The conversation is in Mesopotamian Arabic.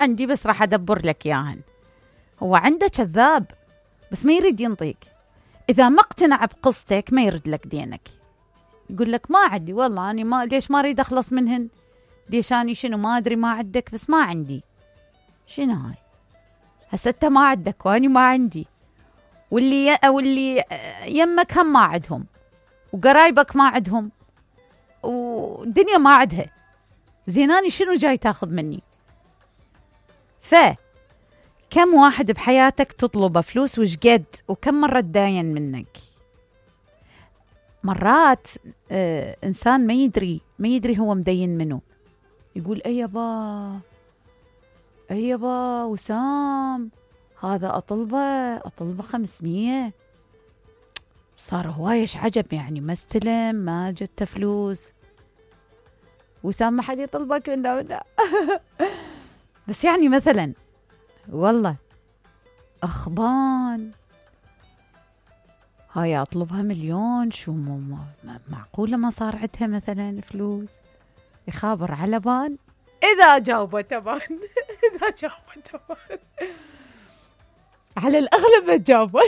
عندي بس راح أدبر لك إياهن. هو عنده كذاب بس ما يريد ينطيك. إذا ما اقتنع بقصتك ما يرد لك دينك، يقول لك ما عندي والله، أنا ما ليش ما أريد أخلص منهن، ليش أني شنو ما أدري ما عندك بس ما عندي. شنو هاي؟ هسه أنت ما عندك وأني ما عندي، واللي يمك هم ما عندهم، وقرايبك ما عندهم، والدنيا ما عندها، زيناني شنو جاي تاخذ مني؟ كم واحد بحياتك تطلبه فلوس وشقد، وكم مرة تداين منك؟ مرات إنسان ما يدري هو مدين منه، يقول أي يابا وسام هذا أطلبه 500، صار هوايش عجب يعني، ما استلم ما جت فلوس. وسام ما حد يطلبك منه بس يعني مثلا والله أخبان هاي أطلبها 1,000,000، شو معقولة ما صار عندها مثلا فلوس؟ يخابر على بان إذا جاوبه تبان إذا جاوبه تبان على الأغلب ما تجاوبه